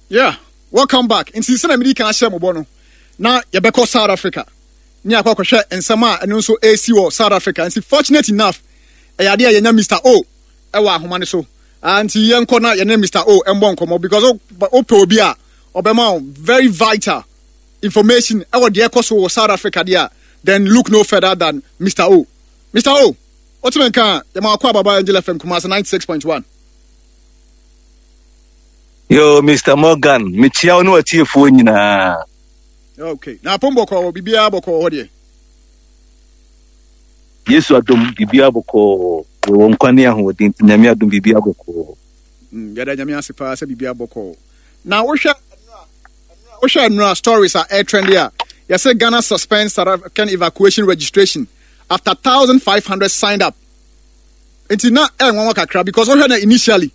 Yeah, welcome back. Nti sɛnea medi kan ahyɛ mo bɔ no, na yɛbɛkɔ South Africa ne akɔ akɔhwɛ nsɛm a ɛno nso ɛresi wɔ South Africa. Nti fortunate enough, ɛyɛ adeɛ a yɛnya Mr. O ɛwɔ ahoma no so. Ah, nti yɛnkɔ na yɛne Mr. O ɛmbɔ nkɔmmɔ because wopɛ obi a ɔbɛma wo very vital information ɛwɔ deɛ ɛkɔ so wɔ South Africa deɛ a, then look no further than Mr. O. Mr. O, wotumi nka a, yɛma wakɔ ababa Angel FM Kumasi 96.1. Yo, Mr. Morgan, mekyia wo ne w'atiefoɔ nyinaa. Okay. Na apom bɔkɔɔ wɔ biribiara bɔkɔɔ hɔ deɛ. Yesu adom biribiara bɔkɔɔ. Yɛwɔ nkwa ne ahoɔden nti Nyame adom biribiara bɔkɔɔ. Yɛda Nyame ase paa sɛ biribiara bɔkɔɔ. Na wohwɛ nnura stories a ɛretrend a yɛsɛ Ghana suspends South African evacuation registration after 1,500 signed up. Nti na ɛnwanwa kakra because wohwɛ na initially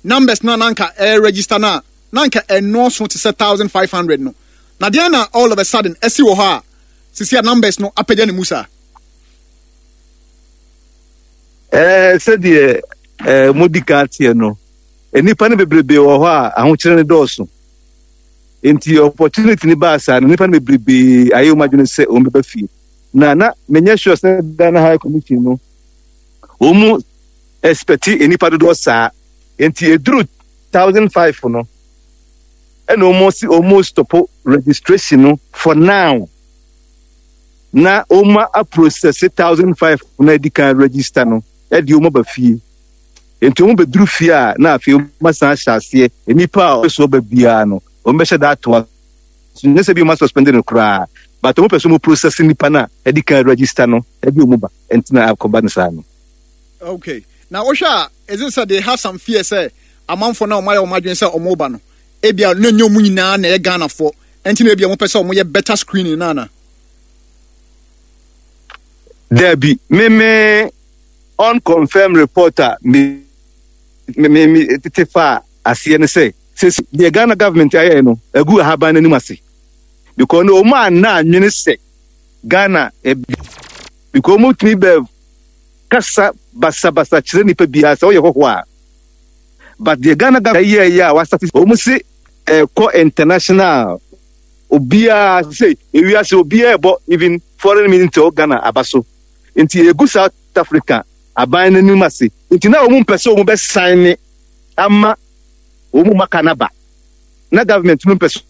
numbers no a na anka ɛregister no a na anka ɛnnɔɔso te sɛ 1,500 no. Na deɛn na all of a sudden asi wɔ hɔ a sisi a numbers no apagya ne mu saa? Ɛɛ sɛdeɛ ɛɛ modi kan teɛ no, nnipa no bebrebe wɔ hɔ a ahokyerɛ no dɔɔso. Nti opportunity no baa saa no, nnipa no bebrebe ayɛ wɔn adwene sɛ wɔn bɛba fie. Na na menyɛ sure sɛ Ghana High Commission no wɔn mu expect nnipa dodoɔ saa. Nti eduru 1,500 no, ɛna wɔn si wɔn stop registration no for now. Na wɔn aprocess 1,500 na edi kan register no ɛde wɔn aba fie. Nti wɔn bɛduru fie a na afei wɔn asan ahyɛ aseɛ nnipa a wɔpɛ so ɔba biara no wɔn bɛhyɛ da atoa so. Nyɛ sɛ bi wɔn asuspend no koraa, but wɔn pɛ so wɔn process nnipa no a ɛdi kan register no ɛde wɔn ba. Nti na akɔba no saa no. Okay. Na wohwɛ a, is it sɛ they have some fear sɛ amanfoɔ no a wɔayɛ wɔn adwene sɛ wɔreba no, ebia na ɛnyɛ wɔn nyinaa na ɛyɛ Ghanafoɔ, ɛnti na ebia wɔpɛ sɛ wɔyɛ better screening no ana? Dabi, me me unconfirmed report a me me me me tete fa aseɛ ne sɛ sɛ deɛ Ghana government ayɛ no agu ahaban n'anim ase because no wɔn anna anwene sɛ Ghana because wɔn tumi bɛ kasa basabasa kyerɛ nipa biara sɛ ɔyɛ hɔhoɔ a, but deɛ Ghana government yɛɛyɛ a wasate wɔn se ɛkɔ international obiara sɛ ewiase obiara ɛbɔ even foreign minister wɔ Ghana aba so nti egu South Africa aban n'anim ase nti na wɔn mpɛ sɛ wɔn bɛ sign ne ama wɔn maka n'aba na government no mpɛ sɛ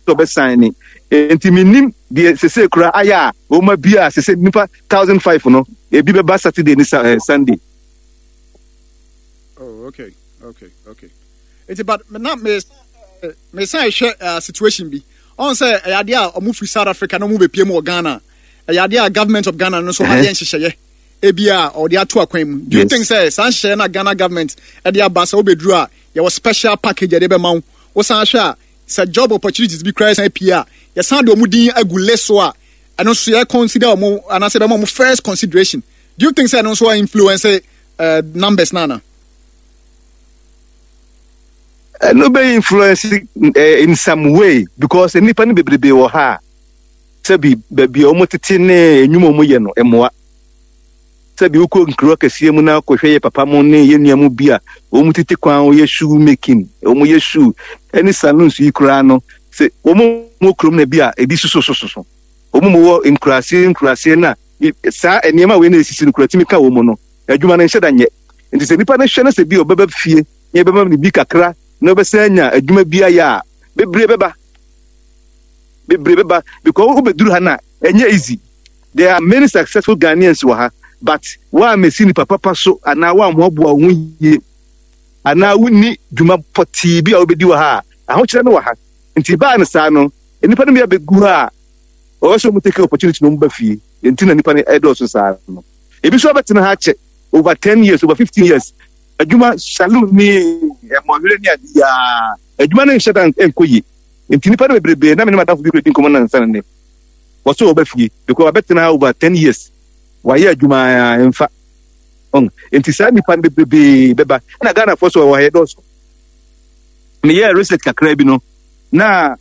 ɔbɛsan ne nti menim deɛ sese kura ayɛ a wɔn abia a sese nipa 1,500 no ebi bɛba Saturday ne Sunday. Oh, okay. Nti but na me me san hwɛ situation bi. Ɔn sɛ ɛyɛ adeɛ a ɔmo firi South Africa na ɔmo bɛpie mu wɔ Ghana. Ɛyɛ adeɛ a government of Ghana no nso ayɛ nhyehyɛeɛ ebi a ɔde ato akwan mu. Do you think sɛ saa nhyehyɛeɛ na Ghana government ɛde aba sɛ wobɛduru a yɛwɔ special package ɛde bɛma wo? Wosan hwɛ a sɛ job opportunities bi koraa san pie a, yɛsan de wɔn din agu list so a, ɛno nso yɛ consider wɔn anaasɛ ɛbɛma wɔn first consideration. Do you think sɛ ɛno nso influence numbers na ana? Ɛno bɛ influence in some way because nnipa no bebrebe wɔ ha a sɛbi baabi a wɔn tete ne nnwuma wɔn yɛ no mmoa. Sɛbi wokɔ nkuro akɛseɛ mu na kɔhwɛ yɛ papa mo ne yɛ nua mu bi a wɔn tete kwan wɔyɛ shoe making, wɔn yɛ shoe ɛne saloons yi koraa no sɛ wɔn wɔ kurom na bi a ebi sososososo wɔn mu wɔ nkuraseɛ nkuraseɛ na saa nneɛma wei na esisi no kura tumi ka wɔn mu no adwuma no nhyɛ da nyɛ. Nti sɛ nipa no hwɛ no sɛ bi ɔbɛba fie na yɛbɛma no bi kakra na ɔbɛsan anya adwuma bi ayɛ a, bebree bɛba, bebree bɛba because wobɛduru ha no a ɛnyɛ easy. There are many successful Ghanaians wɔ ha but woammɛsi nipa papa so anaa woammoaboa wo ho yie anaa wonni dwuma pɔtee bi a wobɛdi wɔ ha a, ahokyerɛ no wɔ ha. Nti baa no saa no, nnipa no bi abɛgu ha a wɔwɔ sɛ wɔn take opportunity na wɔn ba fie. Nti na nnipa no ɛdɔɔso saa no. Ebi nso abɛtena ha akyɛ over 10 years, over 15 years. Adwuma saloon ne mmɔwerɛ ne ade yaa adwuma no nhyɛ da nkɔ yie. Nti nnipa no bebrebe na me ne madamfo bi kura di nkɔmmɔ nansa no ne wɔsɛ wɔba fie because wabɛtena ha over 10 years, wayɛ adwuma a ɛmfa ɔn. Nti saa nnipa no bebrebe bɛba ɛna Ghanafoɔ so wɔ ha yɛdɔɔso. Meyɛɛ research kakra bi no na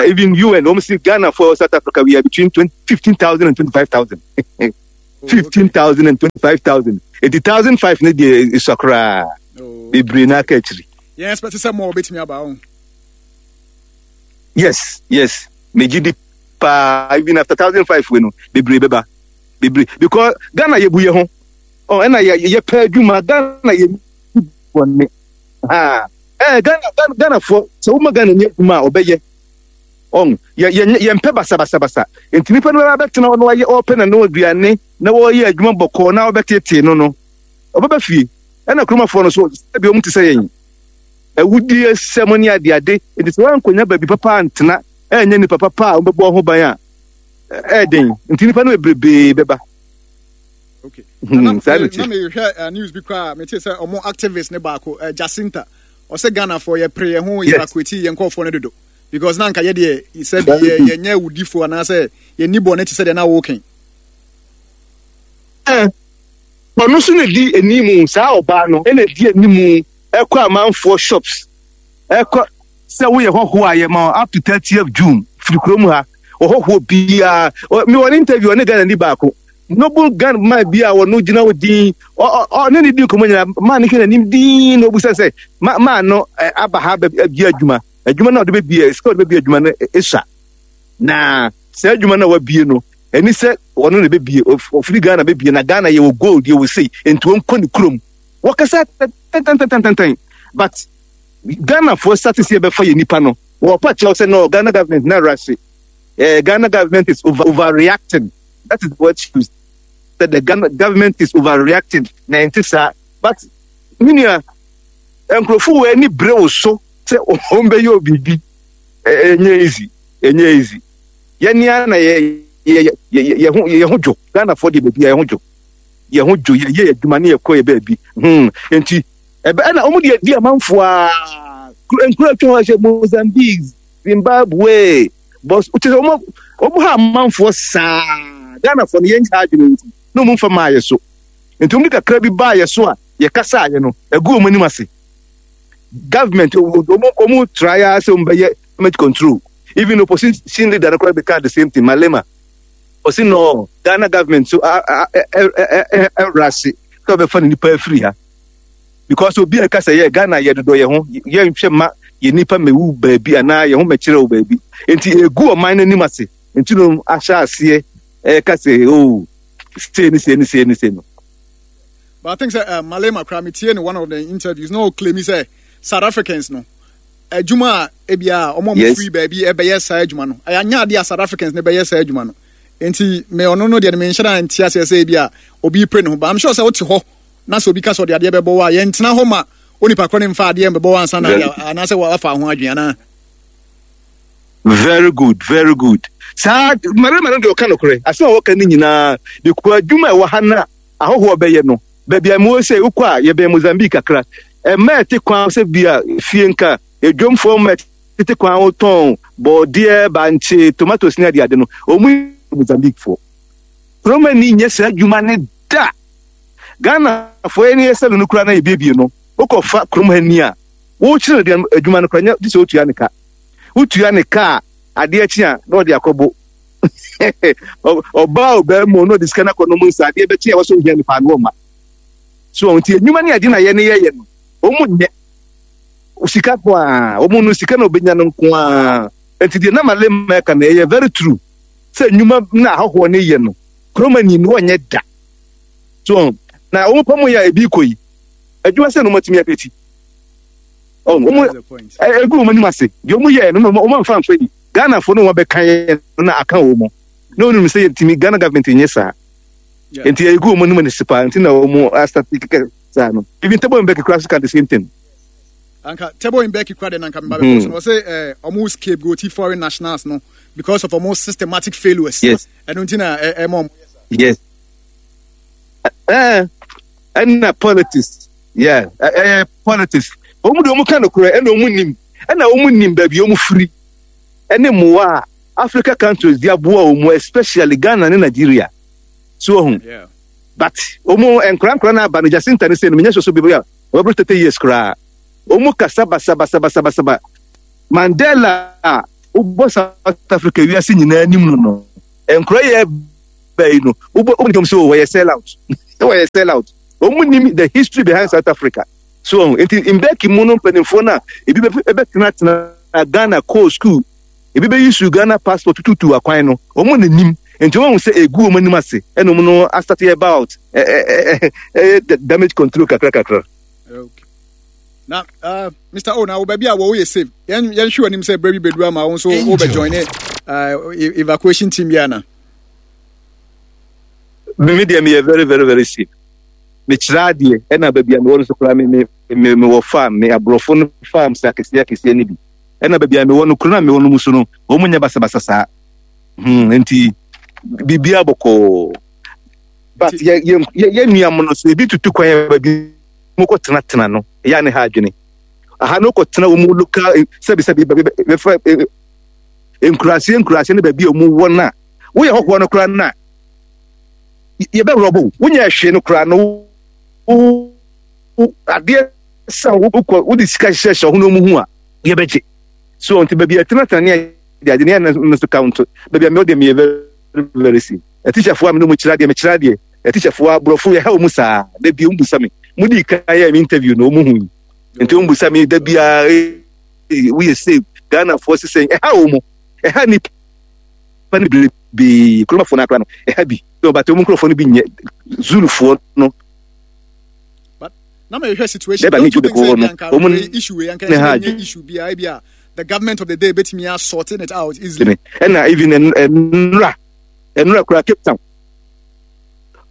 even UN wɔn si Ghanafoɔ South Africa we are between 20, 15,000 and 25,000. 15,000 and 25,000. Eti 1,500 ne deɛ esua koraa. Bebree na aka akyiri. Yɛn expect sɛ mo a wɔbɛtumi aba ho. Yes, megye di paa, even after 1005 wei no, bebree bɛba, bebree, because Ghana yɛbu yɛ ho ɔ, ɛna yɛ yɛpɛ adwuma. Ghana yɛ bɔne ha Ghana, Ghanafoɔ, sɛ woma Ghana ni adwuma a, ɔbɛyɛ ɔn yɛ yɛ yɛmpɛ basabasabasa. Nti nipa no bɛtena hɔ na wayɛ, ɔpɛ na no aduane na wɔyɛ adwuma bɔkɔɔ na ɔbɛtetee no, ɔbɛba fie. Ɛna kuromafoɔ no so, sɛbi, ɔmo te sɛ yɛn awudie sɛm ne adeade. Nti sɛ woankɔnya baabi papa antena, ɛnyɛ nipa papa a wobɛbɔ ho ban a, ɛɛden. Nti nipa no bebrebee bɛba. Okay. Saa na na mehwɛ news bi koraa, mete sɛ ɔmo activist ne baako, Jacinta, ɔsɛ Ghanafoɔ yɛpere yɛn ho evacuate yɛn nkɔɔfoɔ no dodo, because na anka yɛdeɛ sɛ bi yɛ yɛnyɛ awudifoɔ anaasɛ yɛnni bɔne te sɛ deɛ na woken. Ɔno nso na di animu, saa ɔbaa no na di animu ɛkɔ amanfoɔ shops, ɛkɔ sɛ woyɛ hɔhoɔ a, yɛma up to 30th June firi kurom ha. Ɔhɔhoɔ biara me wɔ ne interview, ɔne Ghana ni baako, noble Ghana man bi a ɔno gyina hɔ din, ɔne ne di nkɔmmɔ nyinaa, maa ne hwɛ n'anim din na ɔbusa sɛ maa no aba ha bɛbie adwuma, adwuma no a ɔde bɛbie, sika ɔde bɛbie adwuma no ɛsua, na saa adwuma no a wabie no, ɛni sɛ ɔno na bɛbie, ɔfiri Ghana bɛbie, na Ghana yɛwɔ gold, yɛwɔ sei, nti ɔnkɔ ne kurom. Wɔkasa tɛntɛntɛntɛntɛn, but Ghanafoɔ start sɛ yɛbɛfa yɛ nipa no, wɔpa kyerɛw sɛ no, Ghana government na rase Ghana government is overreacting. That is what she said, the Ghana government is overreacting, na ɛnte saa. But me nua, nkurɔfo wɔ ani bere wo so sɛ wɔn bɛyɛ biribi, ɛnyɛ easy, ɛnyɛ easy. Yɛn ara na yɛ yɛ yɛ yɛ ho yɛ ho dwo. Ghanafoɔ deɛ, baabi a yɛ ho dwo, yɛ ho dwo, yɛyɛ adwuma ne yɛkɔ yɛ baabi nti ɛbɛ ɛna wɔn deɛ di amanfoɔ a nkura atwa hɔ ahyɛ, Mozambique, Zimbabwe, bɔs kyerɛ sɛ wɔn ha amanfoɔ saa. Ghanafoɔ no, yɛn ha adwene nti na wɔn mfa maa yɛ so, nti wɔn de kakra bi baa yɛ so a yɛkasa ayɛ no ɛgu wɔn anim ase. Government wɔn try ara sɛ wɔn bɛyɛ government control. Even opposition leader no koraa bɛka the same thing, Malema, ɔsi no Ghana government so ɛwura ase sɛ ɔbɛfa ne nipa afiri ha, because obi a ɛka sɛ yɛ Ghana yɛ dodɔ yɛ ho, yɛnhwɛ ma yɛ nipa mɛwu baabi anaa yɛn ho mɛkyerɛ wo baabi, nti egu ɔman n'anim ase, nti no ahyɛ aseɛ ɛka sɛ oh, sei ne sei ne sei ne sei no. But I think sɛ Malema koraa, metie no one of the interviews na ɔclaim sɛ South Africans no adwuma a ebia ɔmo a ɔmo firi baabi ɛbɛyɛ saa adwuma no, ɛyɛ anya adeɛ a South Africans no bɛyɛ saa adwuma no. Nti me ɔno no deɛ no, menhyɛ da nte aseɛ sɛ ebi a obi pere ne ho, but I'm sure sɛ wote hɔ na sɛ obi ka sɛ ɔde adeɛ bɛbɔ wo a, yɛntena hɔ ma onipa korɔ ne mfa adeɛ mbɛbɔ wo ansa na anaasɛ wafa ho adwene anaa. Very good, very good. Saa mmarima no deɛ, ɔka nokorɛ. Asɛm a wɔka no nyinaa de kɔ adwuma a ɛwɔ ha no a ahɔhoɔ bɛyɛ no, baabi a mewɔ sɛ wokɔ a, yɛbɛn Mozambique kakra. Ɛma ɛte kwan sɛ bi a fie nka edwomfoɔ ma ɛtete kwan wotɔn bɔɔdeɛ, bankye, tomatoes ne adeade no, wɔn Mozambique foɔ. Kuromani nyɛ saa adwuma ne da. Ghanafoɔ yɛn yɛ sɛlo no koraa na yɛbiebie no, wokɔfa kurom ha ni a, wokyerɛ no adwuma no koraa nyɛ gye sɛ wotua ne ka. Wotua ne ka a, adeɛ kye a na ɔde akɔbo ɔbaa ɔbaa mu, na ɔde sika no akɔnom nsa. Adeɛ bɛkye a wɔsɛ ohia nipa no, ɔma so. Nti adwuma ne ade na yɛ ne yɛyɛ no, wɔn nyɛ sika ko a wɔn no sika na obenya no nko a. Nti deɛ na Malema ɛka no ɛyɛ very true sɛ nnwuma na ahɔhoɔ ne yɛ no, kuromani no wɔnyɛ da so. Na wɔn pam yɛ a ebi kɔ yi adwuma sɛ no wɔn atumi akɛti wɔn egu wɔn anim ase deɛ wɔn yɛ no, wɔn amfa nfa yi Ghanafoɔ no, wɔn abɛka yɛ no na aka wɔn mu na wɔn nim sɛ yɛntumi Ghana government nyɛ saa, nti egu wɔn anim ase paa, nti na wɔn asate kɛkɛ saa no. Even Thabo Mbeki kura so ka the same thing. Anka Thabo Mbeki kura de nanka mba bɛkɔ so no, ɔsɛ ɔmo scapegoat foreign nationals no because of ɔmo systematic failures. Ɛno nti na ɛma ɔmo. Yes, ɛna politics, yeah, politics. Wɔn de wɔn ka no korɛ, ɛna wɔn nim, ɛna wɔn nim baabi wɔn firi ɛne mmoa a Africa countries de aboa wɔn, especially Ghana ne Nigeria so wɔn. But wɔn nkorankora na aba no, Jacinta ne sɛ no, menyɛ soso bebree a wɔbɛboro 30 years koraa, wɔn kasa basa basa basa basa ba. Mandela a wobɔ South Africa wiase nyinaa anim no, nkora yɛ bɛyi no, wobɔ wɔn nim sɛ wɔyɛ sell out, wɔyɛ sell out. Wɔn nim the history behind South Africa so. Nti Mbeki mu no, mpanimfoɔ no a ebi bɛtenatena Ghana kɔɔ school. Ebi bɛyi su Ghana passport tututu akwan no, wɔn na nim. Nti wɔn ahu sɛ egu wɔn anim ase ɛna wɔn no asate about ɛyɛ damage control kakra kakra. Okay. Na uh, Mr. O, na wo baabi a wɔwɔ yɛ safe. Yɛn yɛn hwɛ anim sɛ bere bi bɛduru ama wɔn nso wobɛ join ne evacuation team bi ana. Me deɛ meyɛ very very very safe. Mekyerɛ adeɛ ɛna baabi a mewɔ no so koraa me me me mewɔ farm me aborɔfo no farms akɛseɛ akɛseɛ no bi. Ɛna baabi a mewɔ no kuro no a mewɔ no mu so no wɔn nyɛ basabasa saa. Hmm, nti biribiara bɔkɔɔ. But yɛ yɛ yɛ nua mo no so ebi tutu kwan yɛ baabi mo kɔ tena tena no ɛyɛ a ne ha adwene. Aha no kɔ tena wɔn local sɛbi sɛbi baabi bɛfɛ nkuraseɛ nkuraseɛ ne baabi a wɔn wɔ no a woyɛ hɔhoɔ no koraa no a yɛbɛworɔbo wonyɛ hwee no koraa no wo adeɛ sɛ wokɔ wode sika hyehyɛhyɛ ho na ɔmu hu a yɛbɛgye so nti baabi a ɛtenatena ne ade ade ne ɛno nso count baabi a mewɔ deɛ meyɛ very very safe. Atikyafoɔ a me ne wɔn kyerɛ adeɛ mekyerɛ adeɛ atikyafoɔ aborɔfo yɛha wɔn saa da bi wɔn busa me mo di kan yɛ me interview na wɔn hu yi nti wɔn busa me da biara woyɛ safe Ghanafoɔ sisɛn ɛha wɔn ɛha nipa no bebree kuromafoɔ no akora no ɛha bi so but wɔn nkurɔfoɔ no bi nyɛ Zulufoɔ no. But na mehwɛ situation don't you think sɛ ebi anka wei issue wei anka ɛnyɛ nyɛ issue biara ebi a the government of the day betumi a sorting it out easily. Ɛna even ɛnura ɛnura kura Cape Town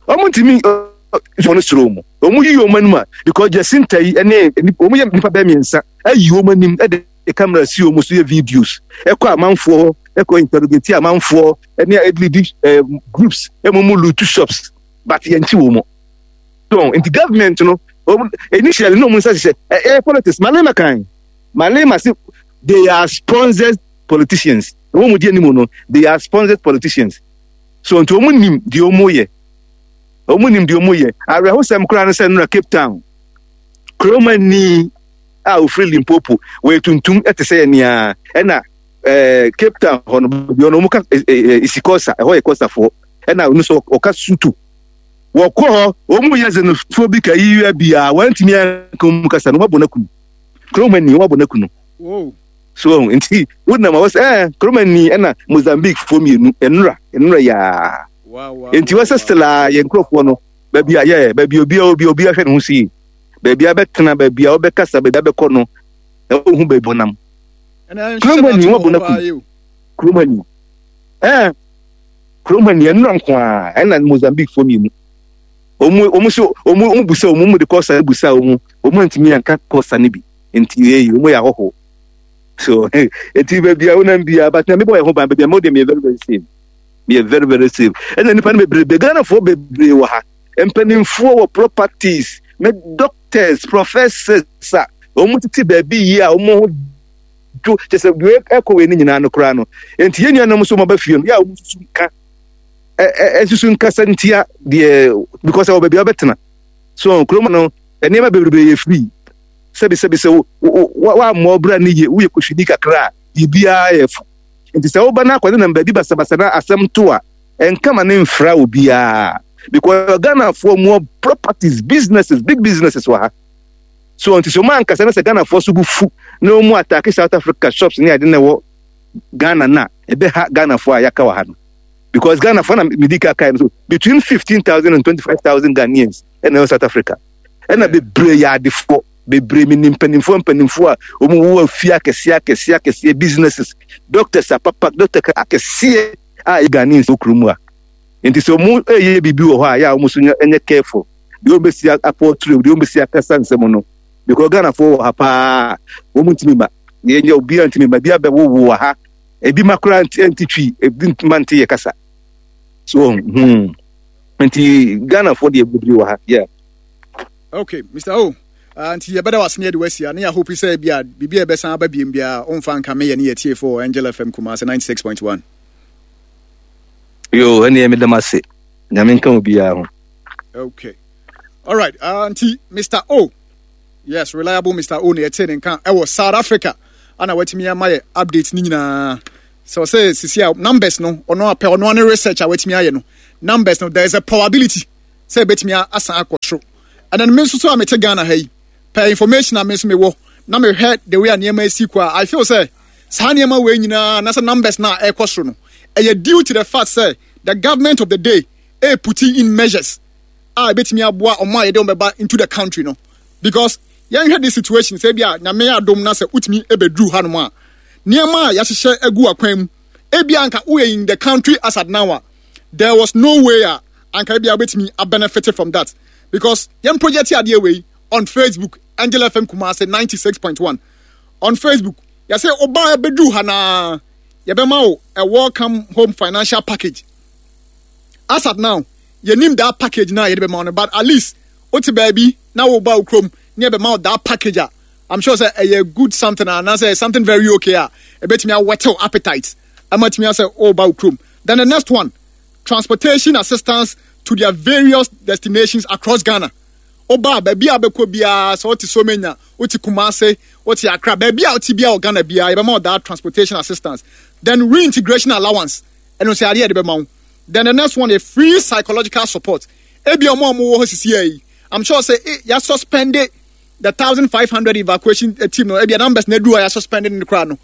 wɔn ntumi wɔn soro wɔn wɔn yi wɔn anim a because Jacinta yi ɛne wɔn yɛ nipa bɛɛ mmiɛnsa ayi wɔn anim ɛde camera si wɔn so yɛ videos ɛkɔ amanfoɔ hɔ ɛkɔ interrogate amanfoɔ ɛne ɛde ɛɛ groups ɛmo mu loot shops but yɛn ti wɔn. So nti government no wɔn initially na wɔn nsa hyehyɛ ɛyɛ politics Malema kan Malema se they are sponsored politicians wɔn mu di anim no they are sponsored politicians so nti wɔn nim deɛ wɔn yɛ wɔn nim deɛ wɔn yɛ awerɛhosɛm koraa no sɛ nnora Cape Town kuroma ni a ofiri Limpopo wɔyɛ tuntum ɛte sɛ yɛn nea ɛna ɛɛ Cape Town hɔ no baabi hɔ no wɔn ka ɛɛ isikosa ɛhɔ yɛ kɔsafoɔ ɛna ɔno nso ɔka Sutu. Wɔkɔ hɔ, wɔn mu yɛ xenophobic ayi bi a wɔantumi anka wɔn mu kasa no, wɔabɔ no aku no. Kurom ani, wɔabɔ no aku no. So nti wonam a wɔsɛ ɛɛ kurom ani ɛna Mozambique foɔ mmienu nnora nnora yaa. Nti wɔsɛ still a yɛn nkurɔfoɔ no baabi a yɛ baabi obi a obi obi ahwɛ ne ho so yie baabi a bɛtena baabi a wɔbɛkasa baabi a bɛkɔ no ɛwɔ hu baabi wɔnam. Kurom ani wɔabɔ no aku no. Kurom ani ɛɛ. Kurom ha nea nnura nko ara ɛna Mozambique foɔ mmienu. Wɔn wɔn so wɔn wɔn busa wɔn wɔn de kɔsa busa wɔn wɔn antumi anka kɔsa no bi nti eyi wɔn yɛ ahɔho. So eti baabi a wonam biara but na mebɔ yɛn ho ban baabi a mo deɛ meyɛ very very safe meyɛ very very safe ɛna nipa no bebrebe Ghanafoɔ bebree wɔ ha mpanimfoɔ wɔ properties me doctors professors a wɔn tete baabi yie a wɔn ho dwo kyɛ sɛ deɛ ɛkɔ wei no nyinaa no koraa no nti yɛn nuanom nso wɔba fie no yɛ a wɔn nsusu nka ɛsusu nkasa ntia deɛ because ɛwɔ baabi a wɔbɛtena so kurom no nneɛma bebrebe yɛ free sɛbi sɛbi sɛ woammɔ ɔbra no yie woyɛ kɔhwini kakra a biribiara yɛ fo nti sɛ woba no akɔde nam baabi basabasa na asɛm to a ɛnka ma ne mfra obiara because Ghanafoɔ mu properties businesses big businesses wɔ ha. So nti sɛ ɔmo ankasa na sɛ Ghanafoɔ so bo fu na ɔmo ataake South Africa shops ne ade na ɛwɔ Ghana na ɛbɛha Ghanafoɔ a yɛaka wɔ ha no because Ghanafoɔ na medi ka kae no so between 15,000 and 25,000 Ghanaians ɛna ɛwɔ South Africa ɛna bebree yɛ adefoɔ bebree menim mpanimfoɔ mpanimfoɔ a wɔn wɔ afie akɛseɛ akɛseɛ akɛseɛ businesses doctors apapa doctor akɛseɛ a ɛyɛ Ghanaians wɔ kurom a nti sɛ wɔn ɛyɛ biribi wɔ hɔ a yɛ a wɔn nso nyɛ careful deɛ wɔn bɛsi apɔtire deɛ wɔn bɛsi akasa nsɛm no because Ghanafoɔ wɔ ha paa wɔn ntumi ma yɛn nyɛ obiara ntumi ma ebi abɛwowo wɔ ha ebi ma koraa nti nti twi ebi ma nti yɛ kasa so nti Ghanafoɔ deɛ bebree wɔ ha yeah. Okay, Mr. O. Nti yɛbɛda wase ne yɛde wasi a ne yɛ hope sɛ bi a biribi a ɛbɛsan aba biem biara ɔmfa nka meyɛ ne yɛtiefo wɔ Angel FM Kumasi 96.1. Yo, ɛneɛ meda m ase. Nyame nka obiara ho. Okay. All right. Nti Mr. O. Yes, reliable Mr. O na yɛte ne nka ɛwɔ South Africa. Ana watumi ama yɛ update ne nyinaa. So sɛ sisi a numbers no ɔno apɛ ɔno ane research a watumi ayɛ no. Numbers no there is a probability sɛ ebetumi asan akɔ soro. And then me nso so a mete Ghana ha yi, per information a me nso mewɔ na mehwɛ the way a nneɛma esi kɔ a I feel sɛ Saa nneɛma wei nyinaa anaasɛ numbers no a ɛrekɔ soro no, ɛyɛ due to the fact sɛ the government of the day ɛyɛ putting in measures a ɛbɛtumi aboa wɔn a yɛde wɔn bɛba into the country no. Because yɛnhwɛ this situation sɛ ebi a Nyame adom na sɛ wotumi ɛbɛduru hanom a, nneɛma a yɛahyehyɛ agu akwan mu, ebi a anka woyɛ in the country as at now a, there was no way a anka ebi a wobɛtumi abenefit from that. Because yɛn project adeɛ wei on Facebook, Angel FM Kumasi 96.1 on Facebook, yɛsɛ ɔbaa bɛduru ha naa yɛbɛma wo a welcome home financial package. As at now, yɛnim that package na yɛde bɛma wo no, but at least wote baabi na woba wo kurom ne yɛbɛma wo that package a, I'm sure sɛ ɛyɛ good something anaasɛ something very okay a ɛbɛtumi awɛtew appetite ama tumi asɛ woba wo kurom. Then the next one, transportation assistance to their various destinations across Ghana. Woba a, baabi a wobɛkɔ biara, sɛ wote Somenya, wote Kumase, wote Accra, baabi a wote biara wɔ Ghana biara, yɛbɛma wo that transportation assistance. Then reintegration allowance, ɛno nso adeɛ a yɛde bɛma wo. Then the next one yɛ free psychological support. Ebi a wɔn a wɔwɔ hɔ sisi yi, I'm sure sɛ eh, yɛ suspend the 1,500 evacuation eh, team no, ebi a numbers na edu a yɛ suspend no koraa no.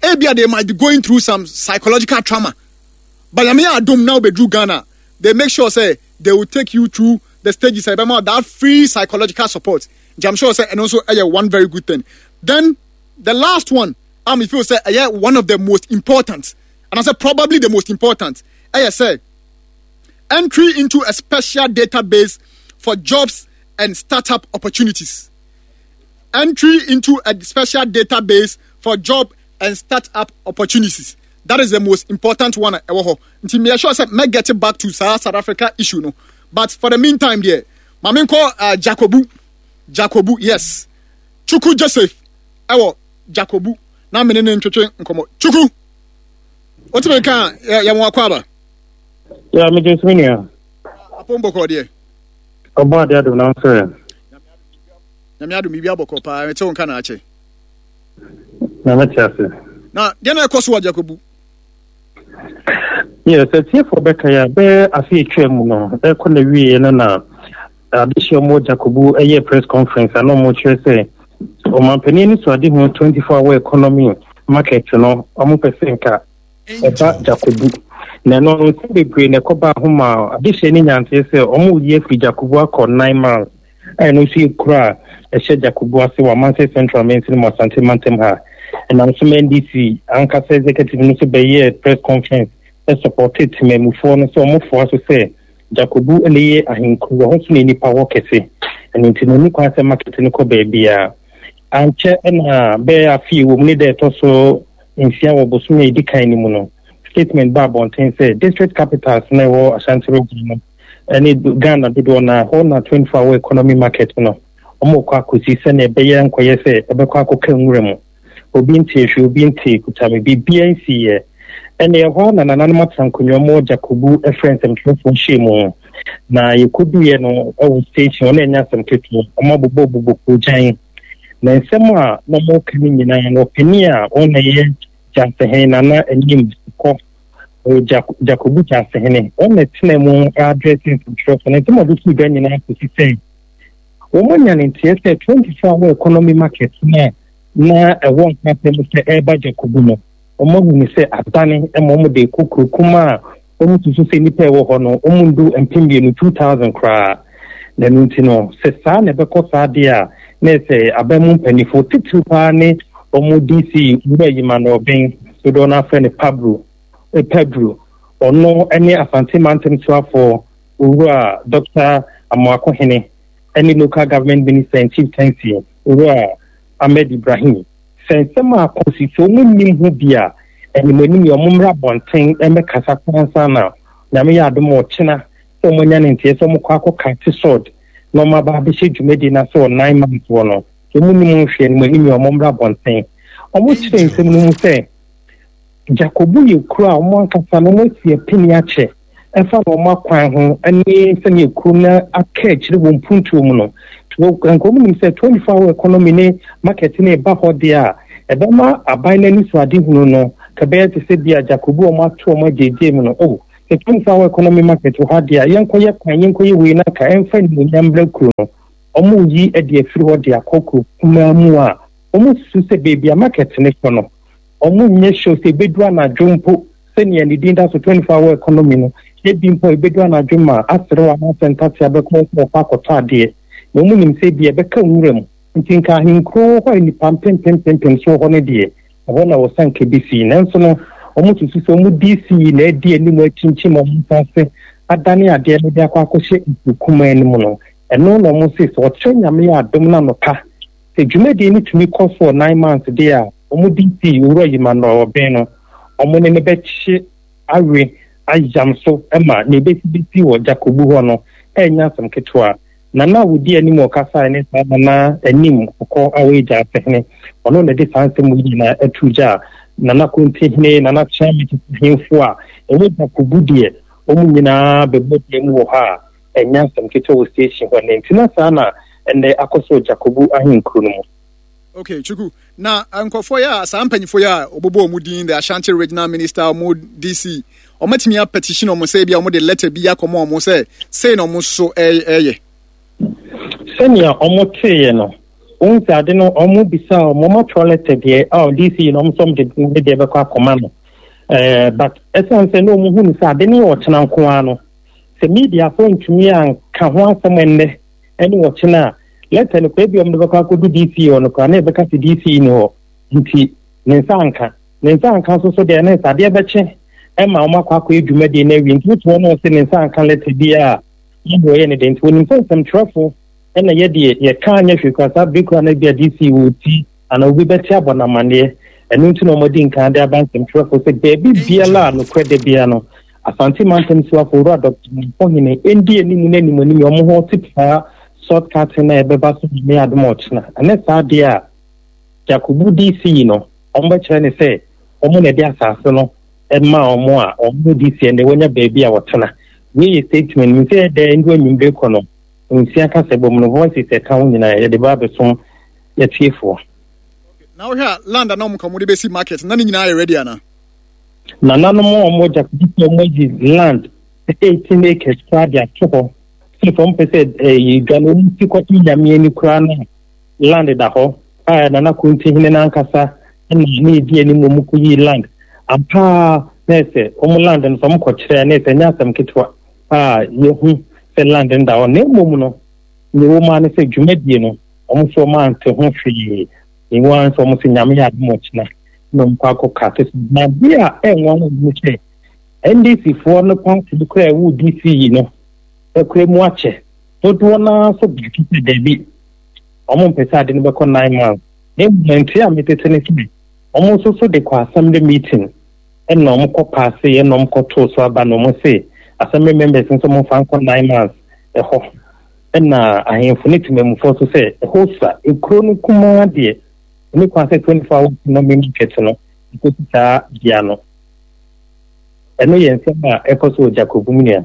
Ebi a they might be going through some psychological trauma. But Nyame yɛ adom na wobɛduru Ghana, they make sure sɛ they will take you through the stages a ɛbɛma that free psychological support. Nti I'm sure sɛ ɛno nso ɛyɛ one very good thing. Then the last one a me feel sɛ ɛyɛ one of the most important, and I say probably the most important, ɛyɛ sɛ entry into a special database for jobs and startup opportunities. Entry into a special database for job and startup opportunities. That is the most important one ɛwɔ hɔ. Nti me sure sɛ mɛ get back to saa South Africa issue no. But for the meantime deɛ, ma me nkɔ uh, Jacobu. Jacobu, yes. Chuku Joseph ɛwɔ Jacobu. Na me ne ne ntwetwe nkɔmɔ. Chuku, wotumi nka yɛ yɛ mo akɔ aba. Ya me gye so nua. Apom bɔkɔ deɛ. Ɔbɔ ade adom na nso ɛ. Nyame adom biribi abɔkɔ paa, mete wo nka na akyɛ. Na mete ase. Na deɛ na ɛkɔ so wɔ Jacobu? Yes, atiefoɔ bɛka yɛ bɛyɛ afe atwa mu no, ɛkɔ na wieɛ no na adehyɛ ɔmo Jacobu ɛyɛ press conference a na ɔmo kyerɛ sɛ ɔmampanin ne so ade ho 24 hour economy market no ɔmo pɛ sɛ nka ɛba Jacobu. Na ɛno no nsɛm bebree na ɛkɔbaa ho ma adehyɛ ne nyanteɛ sɛ ɔmo yi afiri Jacobu akɔ 9 miles a ɛno nso yɛ kuro a ɛhyɛ Jakobu ase wɔ Amansie Central mansini mu Asante mantam ha. Ɛnam so ma NDC ankasa executive no nso bɛyɛɛ press conference sɔpɔtee temanmufoɔ no sɛ wɔfoa so sɛ Jakobu na ɛyɛ ahenkuro, ɛhɔ nso na nnipa wɔ kɛse, ɛno nti no ɛnni kwan sɛ market no kɔ baabiara. Ankyɛ na bɛyɛ afe a ɛwɔ mu ne da ɛtɔ so nsia wɔ bosome a ɛdi kan no mu no, statement baa abɔnten sɛ district capitals na ɛwɔ Ashanti region no ne Ghana dodoɔ no ara, hɔ na 24 hour economy market no wɔrekɔ akɔsi sɛnea ɛbɛyɛ nkɔyɛ sɛ ɛbɛkɔ akɔka nwura mu. Obi ntee hwee, obi ntee kutame, biribiara nsiiɛ. Ɛnna ɛhɔ ara na nananom atena nkonnwa mu Jakobu frɛ nsɛmtwerɛfoɔ nhyiamu. Na yɛkɔduiɛ no wɔ station hɔ na ɛnyɛ asɛm ketewa, wɔabobɔbobɔ koogyan. Na nsɛm a na wɔreka no nyinaa no, ɔpanin a ɔno na ɛyɛ Gyasehene Nana Anim kɔ Ɔyɛ Jakobu Gyasehene. Wɔn na ɛtena mu address nsɛmtwerɛfoɔ no. Nsɛm a wɔde sii dwa nyinaa kɔsi sɛ wɔanya ne nteɛ sɛ 24 hour economy market no a na ɛwɔ nkrasɛm mu sɛ ɛreba Jakobu no, wɔahu no sɛ adane ma wɔde rekɔ kuro kumaa a wɔsusu sɛ nnipa a ɛwɔ hɔ no wɔndu 2000, 2000 koraa. Na ɛno nti no, sɛ saa na ɛbɛkɔ saa deɛ a, na ɛsɛ aban mu mpanimfoɔ titiriw paa ne wɔn DC Owura Emmanuel Obeng, dodoɔ no afrɛ no Pablo, Pedro, ɔno ne Asante Mantam soafoɔ Owura Dɔkta Amoako Hene ne Local Government Minister and Chieftaincy Owura Ahmed Ibrahim. Sɛ nsɛm a akɔ so yi, sɛ wɔn nnim ho bi a, animanim yi wɔn mmra abɔnten mmɛkasa koraa ansa na Nyame yɛ adom a ɔkyena sɛ wɔn anya ne nteɛ sɛ wɔn kɔ akɔ kate sword na wɔn aba abɛhyɛ dwumadie no ase wɔ 9 months wɔ no. Sɛ wɔn nnim ho hwee animanim yi wɔn mmra abɔnten. Wɔn kyerɛ nsɛm no mu sɛ Jakobu yɛ kuro a wɔn ankasa no wɔn asi apini akyɛ ɛfa na wɔn akwan ho ne sɛnea kuro no aka akyire wɔ mpuntuo mu no. Nka wɔn nim sɛ 24 hour economy ne market no ɛba hɔ deɛ a, ɛbɛma aban no anisoadehunu no kɛbɛyɛ te sɛ bi a Jakobu wɔn ato wɔn agyegye mu no. Oh, sɛ 24 hour economy market wɔ ha deɛ a, yɛnkɔyɛ kwan, yɛnkɔyɛ wei na nka ɛmfa animuonyam mmrɛ kuro no. Wɔn reyi de afiri hɔ de akɔ kuro kumaa mu a wɔn susu sɛ baabi a market no kɔ no, Wɔnyɛ sure sɛ ɛbɛdu anadwo mpo sɛnea ne din da so 24 hour economy no, ebi mpo a ɛbɛdu anadwo ma aserew anaasɛ ntatea bɛkɔ sɛ wɔkɔ akɔtɔ adeɛ. Na wɔnim sɛ ebia ɛbɛka nwura mu. Nti nka ahenkuro wɔ hɔ a nnipa mpempempempem so wɔ hɔ no deɛ, ɛhɔ na wɔsɛ anka ɛbɛsi. Nanso no, wɔsusu sɛ wɔn DC na adi anim akyinkyim wɔn nsa ase adane adeɛ no de akɔ akɔhyɛ nsuo kumaa no mu no. Ɛno na wɔse sɛ ɔkyerɛ Nyame yɛ adom no anɔpa, sɛ dwumadie no tumi kɔ so wɔ 9 months deɛ a, wɔn DC Owura Emmanuel Obeng no, wɔn ne no bɛkye awe ayam so ma nea ɛbɛsi bɛsi wɔ Jakobu hɔ no ɛnyɛ asɛm ketewa. Nana a ɔdi anim a ɔkasaeɛ ne saa Nana Anim Kɔkɔɔ a ɔyɛ Gyaasehene. Ɔno na ɛde saa nsɛm yi nyinaa ato dwa a Nana Kontihene, Nana Kyeame tete ahemfo a ɛwɔ Jakobu deɛ, wɔn nyinaa bɛbɔ dua mu wɔ hɔ a ɛnyɛ asɛm ketewa wɔ station hɔ nnɛ. Nti na saa na ɛnnɛ akɔ so wɔ Jakobu ahenkuro no mu. Okay, Chuku. Na nkurɔfoɔ yi a saa mpanyinfoɔ yi a wɔbobɔ wɔn din, the Ashanti Regional Minister, wɔn DC, wɔatumi apetition wɔn sɛ ebi a wɔde letter bi akɔma wɔn sɛ sei na wɔn nso ɛyɛ. Sɛnea wɔn teeɛ no, wɔn sɛ ade no wɔn bisa wɔn wɔn atwerɛ letter deɛ a DC yi na wɔn nso wɔn de ne deɛ bɛkɔ akɔma no. Ɛɛ but ɛsan sɛ na wɔn hu no sɛ ade no yɛ ɔkyena nko ara no, sɛ mediafoɔ ntumi anka ho asɛm ɛnnɛ ɛne ɔkyena a, lɛtɛ no koraa ebia wɔde bɛkɔ akɔdu DC hɔ no koraa na yɛbɛka sɛ DC nni hɔ nti ne nsa anka. Ne nsa anka nso so deɛ na ɛsɛ adeɛ bɛkye ɛma wɔn akɔ akɔyɛ dwumadie no awie nti wote hɔ na ɔse ne nsa anka lɛtɛ biara a na deɛ ɔyɛ ne deɛ nti wɔnim sɛ nsɛmtwerɛfo ɛna yɛ deɛ yɛka anyɛ hwee koraa saa bere koraa na ebia DC wɔ ti anaa obi bɛte abɔ no amanneɛ. Ɛno nti na wɔadi nkan de aba nsɛmtwerɛfoɔ sɛ baabi biara a nokorɛ da biara no, Asante Mantam Soafo Owura Dɔkta Mampɔhene ndi anim ne animuanim yɛ wɔn ho te saa salt cutting a ɛbɛba so Nyame adom a ɔkyena. Ɛnyɛ saa deɛ a, Jakubu DC yi no, wɔbɛkyerɛ no sɛ wɔn na ɛde asase no maa wɔn a wɔn DC ɛnde wɔanya baabi a wɔtena. Wei yɛ statement, menim sɛ ɛdɛ ndu anwummere kɔ no, nsia kasabɔ mu no, voices ɛka ho nyinaa yɛde ba abɛsom yɛtiefoɔ. Na wohwɛ a land a na wɔn ka wɔn de bɛsi market na ne nyinaa yɛ ready ana? Nananom a wɔn gya sɛ wɔn ayi land 18 acres koraa de ato hɔ sɛ sɛ wɔn pɛ sɛ ɛyɛ dwa no wɔn si kɔto nyame ani koraa no land da hɔ a Nana Konti hene n'ankasa na ne edi anim wɔn kɔ yi land ampaa na ɛsɛ wɔn land no sɛ wɔn kɔ kyerɛ na ɛsɛ nyɛ asɛm ketewa a yɛhu sɛ land no da hɔ na mmom no nea ɛwɔ mu ara ne sɛ dwumadie no Wɔn nso wɔn ante ho hwee. Ewu ara nso wɔn sɛ Nyame yɛ adom ɔkyena na wɔn kɔ akɔ ka te so. Na adeɛ a ɛnwanwa mu sɛ NDC foɔ no party no koraa ɛwɔ DC yi no ɛkura mu akyɛ. Dodoɔ no ara nso baako sɛ daabi wɔn mpɛ sɛ ade no bɛkɔ 9 months. Na mmom nte a metete ne sɛ wɔn nso so de kɔ assembly meeting ɛna wɔn kɔ paase ɛna wɔn kɔ too so aba na wɔn se assembly members nso wɔn fa nkɔ 9 months ɛhɔ. Ɛnna ahemfo ne temammufoɔ nso sɛ, Ɛhɔ sua, ekuro no kumaa deɛ, ɛni kwan sɛ 24 hour economy market no ɛkɔsi saa bea no. Ɛno yɛ nsɛm a ɛkɔ so wɔ Jacob mu nua.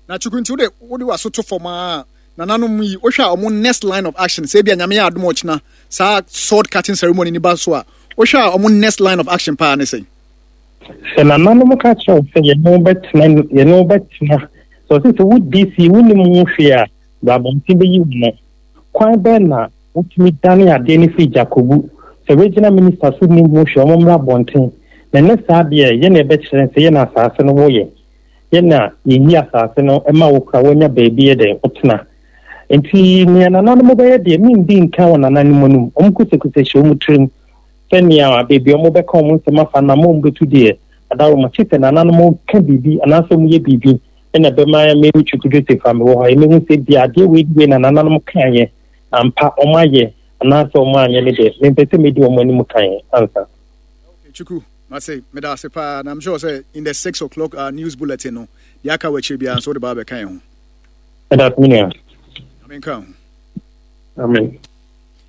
Na Chukwu nti wode wode w'aso to fam a nananom yi wohwɛ a wɔn next line of action sɛ ebia Nyame yɛ adom ɔkyena saa sword cutting ceremony ni ba so a wohwɛ a wɔn next line of action paa ne sɛn? Sɛ nananom ka kyerɛ wo sɛ yɛne wo bɛtena yɛne wo bɛtena sɛ ɔsɛ sɛ wo DC wonim ho hwee a bra abɔnten bɛyi wo no kwan bɛn na wotumi dane adeɛ no firi Jakobu sɛ regional minister so nim ho hwee ɔmo mmra abɔnten na ɛnɛ saa deɛ yɛ na ɛbɛkyerɛ sɛ yɛ na asase no woyɛ yɛ na yɛyi asase no ma wo kora woanya baabi yɛ dɛn wotena nti nea nananom bɛyɛ deɛ mendi nka wɔ nananom anim ɔmo kusakusa hyɛ ɔmo tirim Sɛnea baabi a wɔbɛka wɔn nsɛm afa no ama wɔbɛtu deɛ adaworoma kye sɛ nananom ka biribi anaasɛ wɔyɛ biribi na ɛbɛma me Chukwu Joseph a mewɔ hɔ yi mehu sɛ bia adeɛ wei wei na nananom kaeɛ ampa wɔn ayɛ anaasɛ wɔn anyɛ ne deɛ mempɛ sɛ medi wɔn anim kan ansa. Okay, Chukwu, mase meda ase paa na I'm sure sɛ in the 6 o'clock news bulletin no deɛ aka wɔ akyire biara nso wode ba abɛka yɛn ho. Meda ase me nua. Amen ka ho. Amen.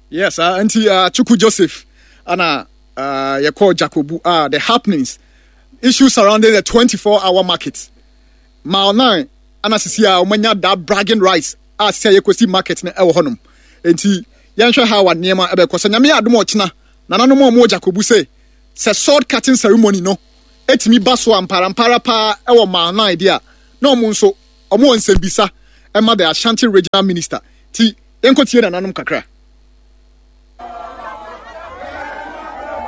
Yes, nti Chukwu Joseph ana yɛkɔɔ Jacobu the happenings issues surrounding the 24 hour market mile 9 ana sisi a wɔanya that bragging rights a sisi a yɛkɔsi market no ɛwɔ hɔnom nti yɛnhwɛ how a nneɛma ɛbɛkɔ sɛ Nyame yɛ adom ɔkyena nananom a wɔwɔ Jacobu sɛ sɛ sword cutting ceremony no ɛtumi ba so a mparampara paa ɛwɔ mile 9 deɛ a na wɔn nso wɔn wɔ nsɛmbisa ɛma the Ashanti Regional Minister ti yɛnkɔtie nananom kakra.